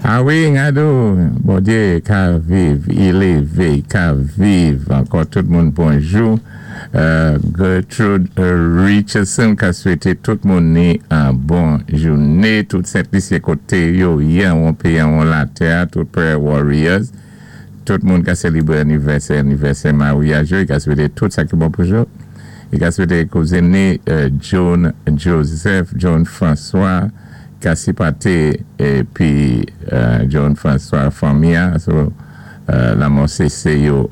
A wi, gado, Bondyé ka viv, i lévé, i ka viv. Ankò tout moun bonjou. Gertrude Richardson ka swété tout moun ni an bon jouné. Tout Sent Lisyen koté yo yé an péyi an latè, tout prayer warriors. Tout moun ka sélébré anivèsè, anivèsè maryaj yo, i ka swété tout sa ki bon pou yo. I ka swété kouzin ni John Joseph, John François, ka sipòté épi John François fanmi an, so, lanmò Sese yo,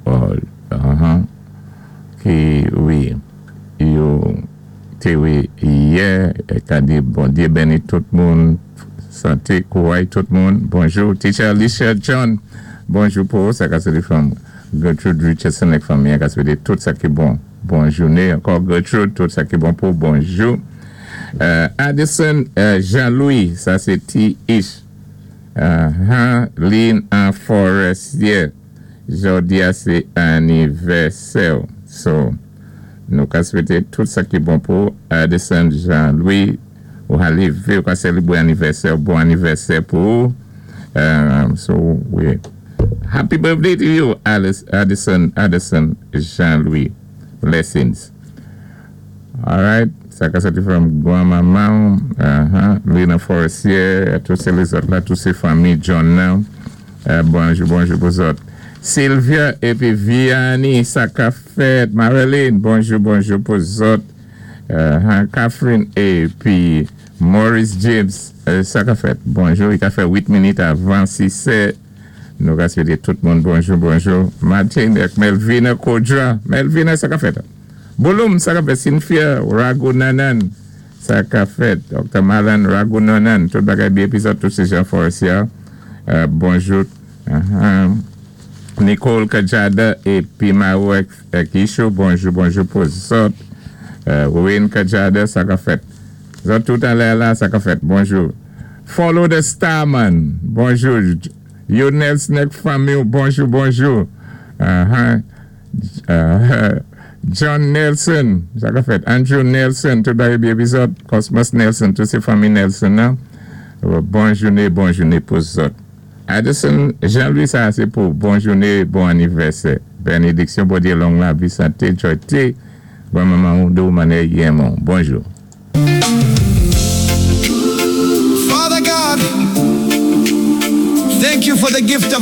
ki wi, yo té wé yè, ka di Bondyé béni tout moun, santé, kouray tout moun. Bonjou, Teacher Alicia John, bonjou pou sa ka sé fanm Gertrude Richardson ak fanmi, ka swété tout sa ki bon. Bon jouné ankò Gertrude, tout sa ki bon pou bonjou. Addison Jean-Louis, sa sé T. Ish. Lynn en Forestier, jòdi a sé anivèsè. So, nou ka swété tout sa ki bon pou Addison Jean-Louis, ou lévé, ou ka sélébré anivèsè, bon anivèsè pou. So, wi. Happy birthday to you, Alice, Addison, Addison Jean-Louis. Blessings. All right. Sa ka sòti from granmanman, Lina Forestier, tout sé lézòt la, tout sé fanmi John nan. Bonjou, bonjou pou zòt. Sylvia épi Vianney, sa ka fèt. Marilyn, bonjou, bonjou pou zòt. Catherine épi Maurice James, sa ka fèt. Bonjou, i ka fè 8 minit avan 6 è. Nou ka swété tout moun bonjou, bonjou. Martin ak Melvina Kodra. Melvina, sa ka fèt. Bouloum, sa ka fèt. Cynthia Ragunanan, sa ka fèt. Dr. Malan Ragunanan, tout bagay byen épi zòt, tout sé Jean Forestier. Bonjou. Nicole Kajada épi Marek Kisho, bonjou, bonjou pou zòt. Wayne Kajada, sa ka fèt. Zòt tout anlè la, sa ka fèt. Bonjou. Follow the Starman, bonjou. Yonel Snack Family, bonjou, bonjou. John Nelson, sa ka fèt. Andrew Nelson, tout bagay byen épi zòt. Cosmos Nelson, tout sé fanmi Nelson nan. Bon jouné, bon jouné pou zòt. Addison, Jean-Louis, sa sé pou bon jouné, bon anivèsè. Bénédiksyon, Bondyé long lavi, santé, jwa, bon manman ou do manè yemon. Bonjou. Father God, thank you for the gift of